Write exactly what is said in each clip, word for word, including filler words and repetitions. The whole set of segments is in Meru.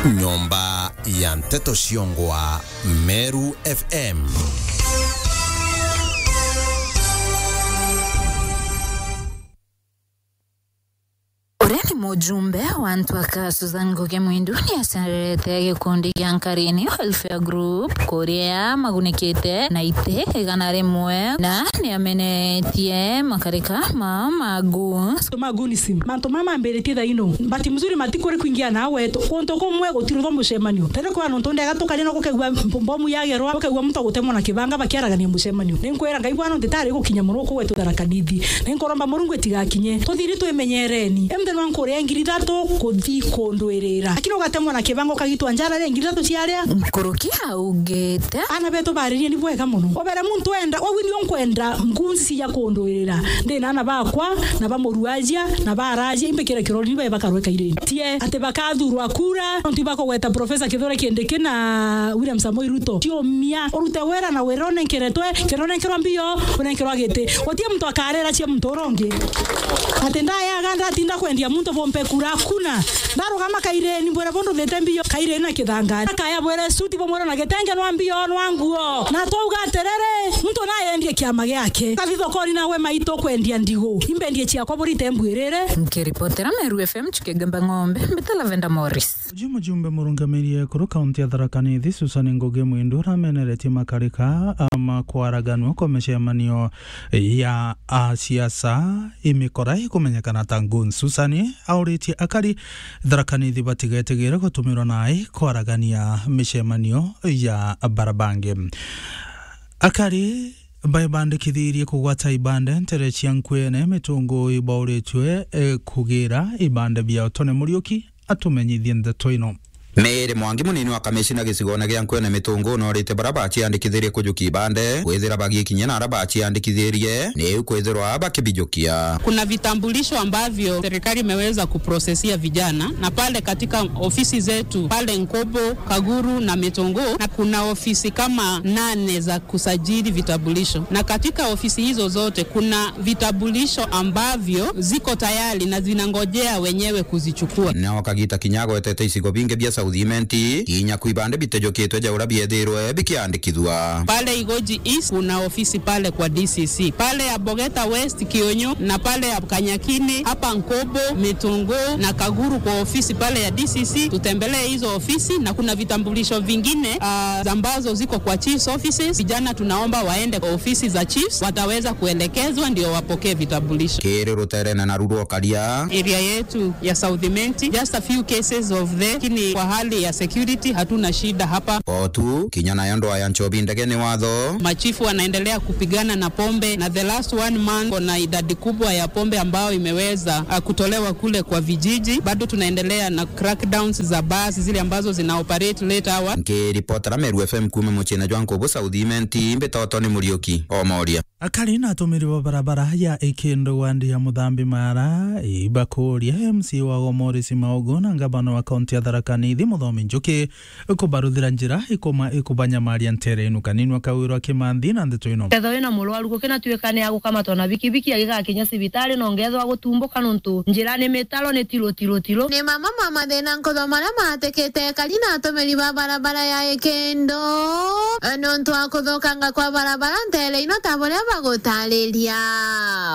Nyomba ya Nteto Ciongwa, Meru F M. Uria ni mujumbe wa Ntwaka, Susan Ngugi Mwindu, ni acererete gikundi gia Nkarini Welfare Group, kuria magunikite na iti igana rimwe, na ni amenetie makarika ma magu. Magunism. Mantu mama mambiritie thaino. Bahati mzuri matikuri kuingia na wetu. Kuntu kumwe gutirutho mucemanio. Tene kwa nontu ndega tukari no gukegua mb-, mbomu yagerwa, gukegua muntu agutemwa na kibanga bakiaragania mucemanio. Ni nkwira Ngai bwana ntitari gukinya muno kugwetu Tharaka Nithi. Ni nkuromba Murungu itigakinye. Tuthiri twimenyereni. Emte nwa nkuria ngiri ithatu kuthi kundwirira. Lakini ugatemwa na kibanga ukagitwa njara ri ngiri ithatu ciaria. Nkuruki augite. Ana betu baririe ni bwega muno. Obere muntu enda, wau nio nkwenda ngunzi ya kundwirira. Ndi na ana bakwa, na ba muruajia, na ba arajia, imbikire kirori ni bae bakarweka ireni. Tie, ati bakathurwa kura, nontu ibakugweta Professor Kithure Kindiki na William Samoei Ruto. Tiumia, urute wira na wira unenkeretwe, kira unenkerwa mbio, unenkerwa giti. Gutie muntu akarira cia muntu uria ungi. Ati ndayaga ndatinda kwendia muntu bumpe kura, kuna. Ndarugama kaireni, mbwira bundu thite mbio, kaireni na kithangani. Akaya bwire suti bumwira na gitenge nwa mbio, nwa nguo. Na twauga atiriri, muntu nayendie kiama giake. Kathi thokoni nawe maitu kwendia ndigu. Imbendie ciakwa burite mbwirire. Nkiripotera Meru F M Chukigemba Ng'ombe, mbita Lavender Morris. Uju mujumbe murungamiri ekuru kaunti ya Tharaka Nithi, Susan Ngugi Mwindu, urameneretie makarika, a, ma kwaraganua kwa micemanio ya, a, siasa imikora ikumenyekana ta Goons. Susan auritie akari Tharaka Nithi batigetigire gutumirwa naai kwaragania micemanio ya barabangi. Akari baibandikithirie kugwata ibande ntere cia Nkwene Mitunguu ibauritue, e, kugira ibande biao. Tony Muriuki atumenyithie ndeto ino. Mary Mwangi, munini wa kamishina gicigone gia Nkwene Mitunguu, norite baria baciandikithirie kujukia ibande kwithira bagikinyia na aria baciandikithirie niu kwithirwa bakibijukia. Kuna vitambulisho ambavyo serikali imeweza kuprosesia vijana, na pale katika ofisi zetu pale Nkobo, Kaguru na Mitunguu, na kuna ofisi kama nane za kusajili vitambulisho, na katika ofisi hizo zote kuna vitambulisho ambavyo ziko tayari na zinangojea wenyewe kuzichukua. Nao kagita kinya agwetete icigo bingi bia South Imenti, kinya ku ibande bitejukitwe ja uria biethirwe bikiandikithua. Pale Igoji East kuna ofisi pale kwa D C C. Pale ya Bogeta West, Kionyo, na pale ya Kanyakini, hapa Nkobo, Mitunguu na Kaguru kwa ofisi pale ya D C C. Tutembelee hizo ofisi, na kuna vitambulisho vingine, ah, ambazo ziko kwa chief's offices. Vijana tunaomba waende kwa ofisi za chiefs, wataweza kuelekezwa ndio wapokee vitambulisho. Kiri ruterene naru rwa Karia. Area yetu ya South Imenti, just a few cases of the, lakini kwa hali ya security hatuna shida hapa. Otu, kinya nayo ndwaa ya nchobi ndege ni watho. Machifu wanaendelea kupigana na pombe, na the last one month kuna idadi kubwa ya pombe ambayo imeweza, ah, kutolewa kule kwa vijiji. Bado tunaendelea na crackdowns za bars zile ambazo zina operate late hour. Nkiripotera Meru F M kuuma muciine jwa Nkubu South Imenti, mbitwa Tony Muriuki, Omoria. Akari na atumiri ba barabara ya Ikindu wandi ya Muthambi Mara ibakuria M C wao Morris Maugu na ngavana wa kaunti ya Tharaka Nithi Muthomi Njuki kubaruthira njira ikuma-, ikubanyamaria ntere inu. Kaninwa kawirwa Kimanthi na ndeto ino. Kethwa wina murwaru gukina tuika ni agukamatwa na bikibiki agigakinya cibitari, na ungethwa gutumbuka nontu njira ni mitaro, ni tiru, tiru, tiru. Ni mama ma mathina nkutho maria matikite akari na atumiri ba barabara ya Ikindu, nontu wa kuthukanga kwa barabara ntere ino ta buria bagutariria.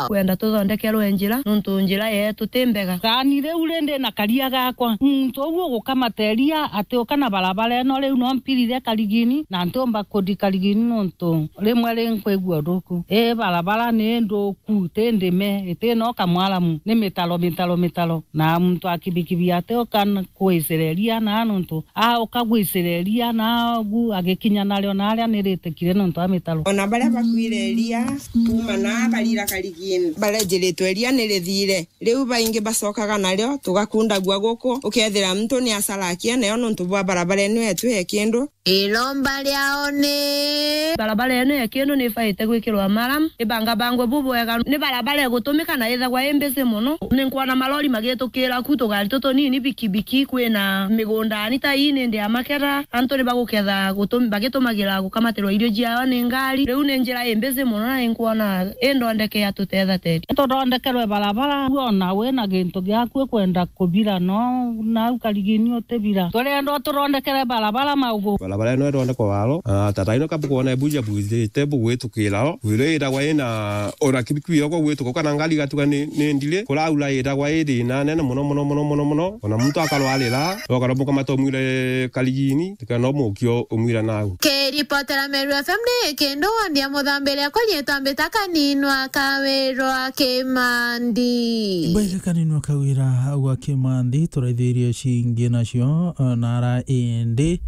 Kwenda tuthondekerwe njira, nontu njira yetu ti mbega. Thani riu ri ndi na karia gakwa, muntu uu ugukamateria atiuka na barabara ino, riu no mpirire Karigini, na ntiumba kuthi Karigini nontu rimwe ri nkwigua ruku. Ii barabara ni nduku, ti ndime, iti no kamwaramu, ni mitaro, mitaro, mitaro. Na muntu akibikibi atiuka n-, kwicireria na nontu auka gwicireria na agu agikinya nario na aria niritikire nontu a mitaro. Ona baria bakwire iria kuuma na barira Karigini, barejiritwe iria nirithire. Riu baingi bacokaga nario, tugakundagua guku, ukethira muntu ni acarakia nayo nontu bwa barabara ino yetu ya Ikindu. Iromba riao ni barabara ino ya Kiendu ni ibaite gwikirwa maram, ibangabangwe bubwega. Ni barabara igutumika na ithagwa i busy mono. Ni nkwona malori magitukira ku, tugari tutunini, bikibiki, kwina migundani ta ii nindi ya maketha. Antu ni baguketha gutumi-, bagitumagira gukamatirwa irio ciao ni ngari. Riu ni njira i busy mono na ni nkwona indondeke ya tutetha teri. Tuthondekerwe barabara, wona wina gintu giaku ikwenda kubira, no nau karigini utibira. Turenda ututhondekere barabara maugu. Barabara ino ithondekwe waro, ah, tata ino kabu kwona ibuja bujite bugwitukira o. Wiro iragwa ina ora kibikibi yoko gwituka kana ngari igatuga ni, ni ndiri. Kuraura iragwa i thina nene mono, mono, mono, mono, mono. Ona muntu akarwarira, ukaromboka mata umwire karigini, tikana umukio umwira nau. Kiripotera Meru F M ni Kiendu wandi ya Muthambiri, akwa riitwa mbita Kaninwa Kawirwa Kimandi. Mbwega Kaninwa Kawira gwa Kimandi, turaithirie cingi nacio, eh, nara indi.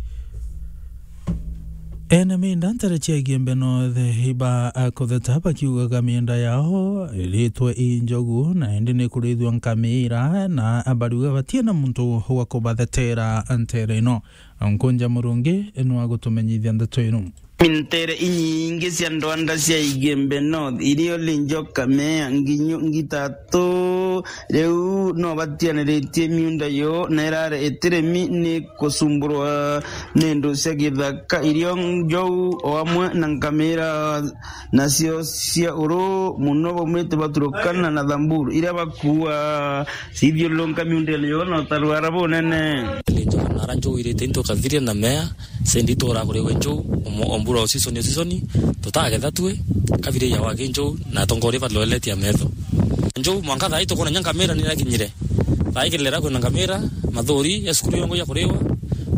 Ene minda ntere cia Igembe North iba, eh, kutheta bakiugaga minda yao iritwe i njogu, na indi ni kurithua nkamira, na bariuga batina muntu wa kubathetera ntere ino. Nkunja Murungi nwa gutumenyithia ndeto ino. Mintere inyingi cia ndwanda cia Igembe North, irio linjo kamea nginyu ngitatu, riu no batianiritie miunda yo, na irare itiremi ni kusumburwa ni ndu cia githaka, irio njou o amwe na nkamira, nacio cia uru muno baumite baturukana na Thamburu, iria bakua cithiururunka miundene yo na utarwara bunene. Linjo nara njou irite into kathiria na mea, sendi tora kuriwe njou, omo-, ombura o season o season, tutagetha tue, kabiri ya wagi njou, na atongoria baloeletia metho. Njou mwanka thaa ii tukona nya nkamira ni irakinyire. Thaa ii kirira kwina nkamira, mathuri ya cukuru yongo ya kuriwa,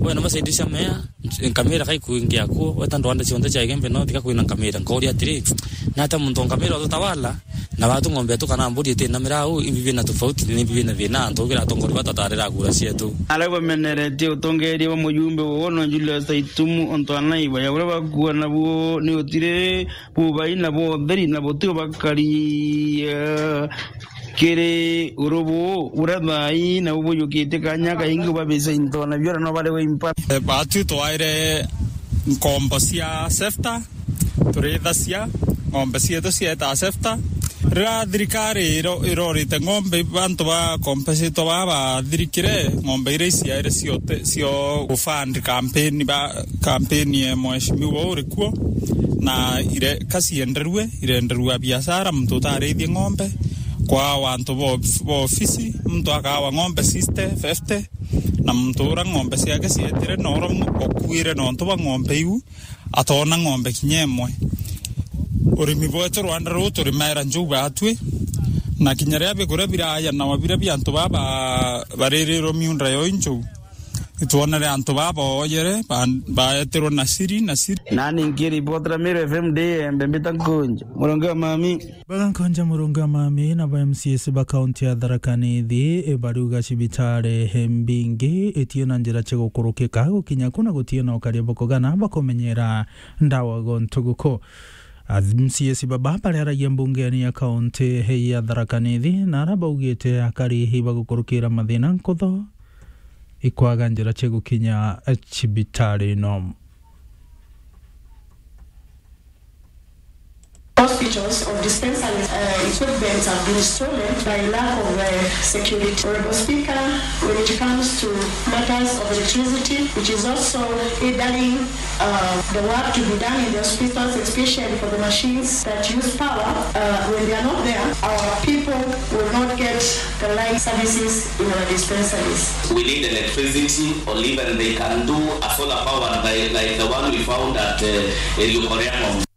wena masendi cia mea, nkamira kai kuingia kuo, weta ndwanda cionthe cia Igembe North ka kwina nkamira. Nkauria atiri, nata muntu nkamira ututawala, na watu ng'ombe tu kana mburi itina mirau, imbi bina tofauti, ni imbi bina thina, antu kira atongoria batatarira kura cietu. Aria bameneretie utongeria bwa mujumbe wono Julius Aitumu, ontu anaiba ya uria bakua nabuo ni utiri bubai na bwa utheri na butio bakari, eh, kiri urubu buria thaa ii na bubuyukitie kanya kaingi babica into na biora no bari wimpa. Eh, batu twaire nkombo cia sefta, turithacia ng'ombe cietu cieta sefta. Riria thirikari iro-, irorite ng'ombe, bantu ba compensate ba bathirikire, ng'ombe iria iciaire ciote, cio gufund campaign ba, campaign ya mheshimiwa uri kuo, na ire, ka cienderue, irenderua biashara, muntu utarithie ng'ombe, kwa wantu bo, bo ofisi, muntu akawa ng'ombe sixty, fifty, na muntu ura ng'ombe ciake cietire na ura mu-, okuire nontu bwa ng'ombe iu, atona ng'ombe kinya imwe. Urimi bwetu rwanda ruu turimaira njuu batwi, na kinya riria biguria birayanawa biria bia antu baba baririrwe miunda yo injuu, itwonere antu baba ooyere, ba-, baetirwe na siri, na siri. Nani nkiripotera Meru F M ndi Embe mbita Nkunja, Murungi wa mami. Bagankonja Murungi wa mami na ba M C S ba kaunti ya Tharaka Nithi, e, bariuga cibitari mbingi itie na njira cia gukurukika gukinya ku na gutie na ukaria bukugana bakumenyera ndawa gontu guku. A M C S baba bariaragia mbungeni ya kaunti ya Tharaka Nithi, na ara baugite akari ibagukurukira mathina nkutho ikwaga njira cia gukinya cibitari ino. Hospitals or dispensaries, uh, equipments have been stolen by lack of, uh, security. Honorable Speaker, when it comes to matters of electricity, which is also hindering, uh, the work to be done in the hospitals, especially for the machines that use power, uh, when they are not there, our people will not get the light services in our dispensaries. We need electricity, or even they can do a solar powered by, like the one we found at, uh, Elukoriang'om.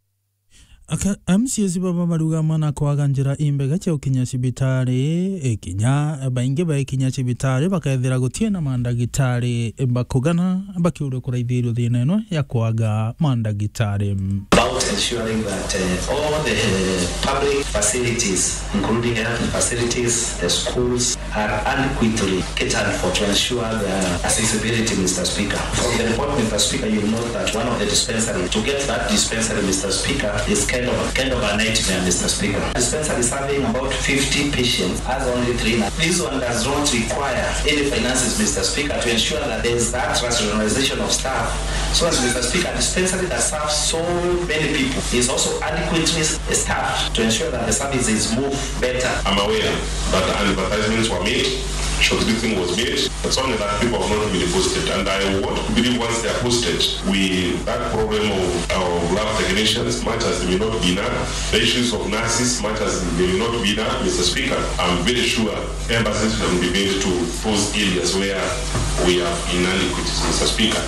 Aka-, M C S baba bariuga amwe na kwaga njira imbega cia gukinya cibitari, ikinya baingi bakinya cibitari bakethira gutie na mandagitari bakugana bakiuria kuraithirio thina ino ya kwaga mandagitari. About Ensuring that, uh, all the, uh, public facilities, including health facilities, the schools, are adequately catered for to ensure the accessibility, Mister Speaker. From the report, Mister Speaker, you note that one of the dispensary, to get that dispensary, Mister Speaker, is kind of, kind of a nightmare, Mister Speaker. Dispensary serving about fifty patients has only three nurses. This one does not require any finances, Mister Speaker, to ensure that there is that rationalization of staff. So as Mister Speaker, a dispensary that serves so many people is also adequately staffed to ensure that the services move better. I'm aware that advertisements were made, shortlisting was made, but it's only that people have not been posted. And I want to believe once they are posted, we, that problem of, of lab technicians, much as they may not be now, the issues of nurses, much as they may not be now, Mister Speaker, I'm very sure emphasis will be made to those areas where we have inadequacies, Mister Speaker.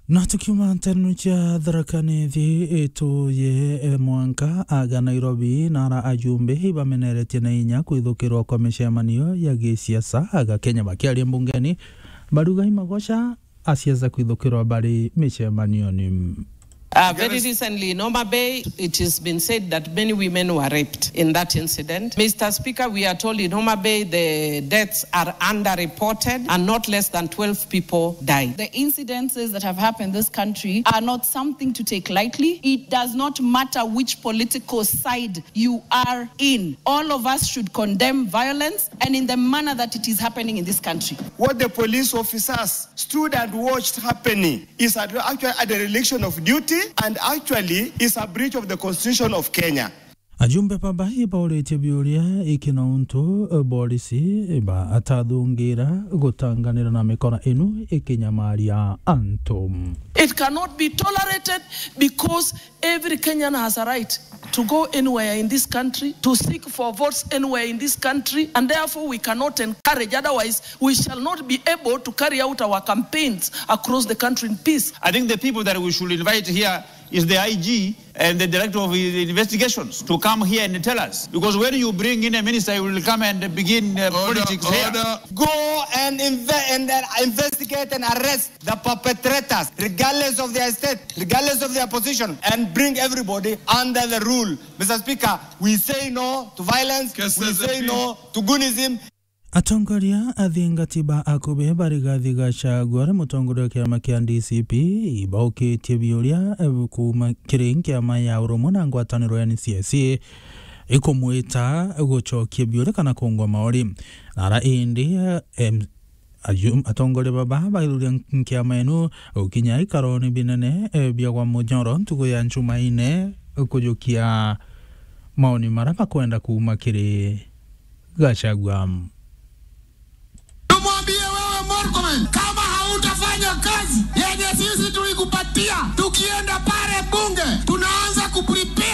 Na tukiuma nterenu cia Tharaka Nithi, ituye, eh, mwanka aga Nairobi, na ara ajumbe ibameneretie na inya kwithukirwa kwa micemanio ya gisiasa aga Kenya. Bakiaria mbungeni, baruga imagoca asiasa kwithukirwa bari micemanioni. Uh, very recently in Homa Bay, it has been said that many women were raped in that incident. Mister Speaker, we are told in Homa Bay the deaths are underreported and not less than twelve people died. The incidences that have happened in this country are not something to take lightly. It does not matter which political side you are in. All of us should condemn violence and in the manner that it is happening in this country. What the police officers stood and watched happening is at, actually a dereliction of duty and actually is a breach of the Constitution of Kenya. Ajumbe baba ibauritie biuria iki na untu, eh, borisi iba atathungira gutanganira na mikora inu ikinyamaria antu. It cannot be tolerated because every Kenyan has a right to go anywhere in this country, to seek for votes anywhere in this country, and therefore we cannot encourage, otherwise we shall not be able to carry out our campaigns across the country in peace. I think the people that we should invite here is the I G and the Director of Investigations to come here and tell us. Because when you bring in a minister, he will come and begin, uh, politics here. Order. Go and inve-, and, uh, investigate and arrest the perpetrators, regardless of their state, regardless of their position, and bring everybody under the rule. Mister Speaker, we say no to violence, we say no to goonism. Atongoria athingati ba akube ba Rigathi Gachagua ari mutongoria wa kiama kia D C P ibaukitie biuria, eh, kuuma kiri nkiama ya urumwe na ngwataniro ya N C I C ikumwita gucokia biuria kana kungwa mauri. Nara indi, eh, em, Aju-, atongoria baba baithuria nkiama inu gukinya ikaroni binene, eh, bia gwa Munyoro ntuku ya Njumaine kujukia maoni mara bakwenda kuuma kiri Gachagua. Tumwambie wewe Murkomen, kama hautafanya kazi yenye sisi tulikupatia, tukienda pale bunge, tunaanza kuprepare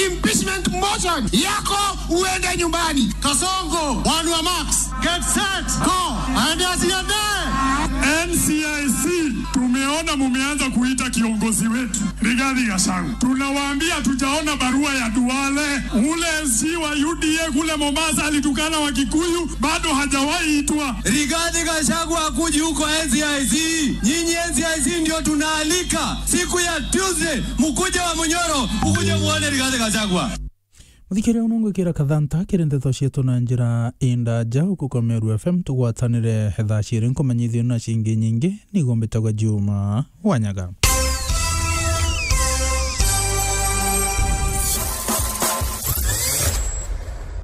impeachment motion yako uende nyumbani. Kasongo, one wa Max. Get set, go. Aende asiende. N C I C, tumeona mumeanza kuita kiongozi wetu Rigathi Gachagua. Tunawaambia tujaona barua ya Duale. Ule M C wa U D A kule Mombasa alitukana Wakikuyu, bado hajawahi itwa. Rigathi Gachagua akuji huko N C I C. Nyinyi N C I C ndio tunaalika. Siku ya Tuesday, mukuje wa Munyoro, mukuje muone Rigathi Gachagua. Muthikiria, uno ngwikira kathanta kiri ndeto cietu na njira indaja. Uku kwa Meru F M tugwatanire thaa ciiri nkumenyithio na cingi nyingi. Nigo mbitagwa Juma Wanyaga.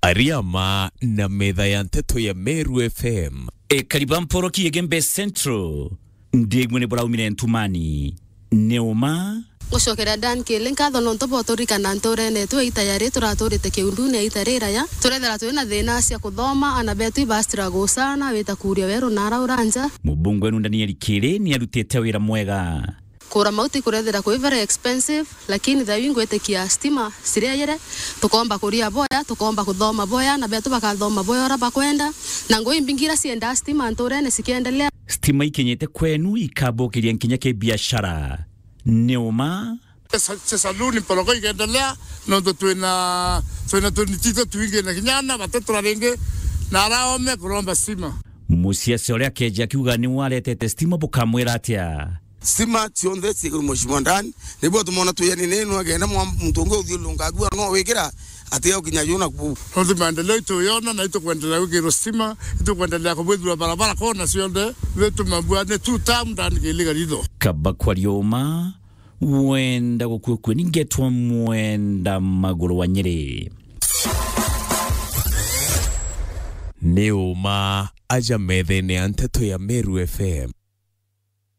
Ariama na metha ya nteto ya Meru F M. Ekari ba Mporoki Igembe Central, ndigwe ni buraumire ntumani. Ni uma. Gucokeria Dan Kili nkatho nontu bwa uturikana nturene yetu ya ita yari turaturite kiundune ya ita riraya. Turethira twi na thina cia kuthoma, ana betu iba struggle sana, wita kuria weru na araura nja. Mubunge wenu Daniel Kili ni arutite wira mwega. Kura mauti kurethira kwi very expensive, lakini thaa ii ngwitikia stima ciriayire, tukomba kuria boya, tukomba kuthoma boya, na betu bakathoma boya uria bakwenda, na ngui mbingi iria ciendaa stima nturene cikiendelea. Stima ikinyite kwenu ikabukiria nkinya ki biashara. Ni uma. Sa-, sa-, saluni mporoko ikiendelea, nontu twina, twina tuni tito twingi na kinya ana bate turaringi na araome kuromba stima. Musiasi uria akeja akiuga ni waretete stima bukamwira atia? Stima cionthe ciigirwe Mheshimiwa Ndani, nibo tumona tuyani nenu agenda mwa muntu ungi uthiurunga agua no wikira atiga gukinya yu na ku. Nontu maendeleo ituyona na itukwendelea gwikirwa stima, itukwendelea kubwithirwa barabara kona cionthe, riu tumambua ni two term Ndani Kiliga ritho. Kaba kwa riuma, wenda gukua kue, ningetwa Mwenda Maguru wa Nyeri. Ni uma aja methene ya nteto ya Meru F M.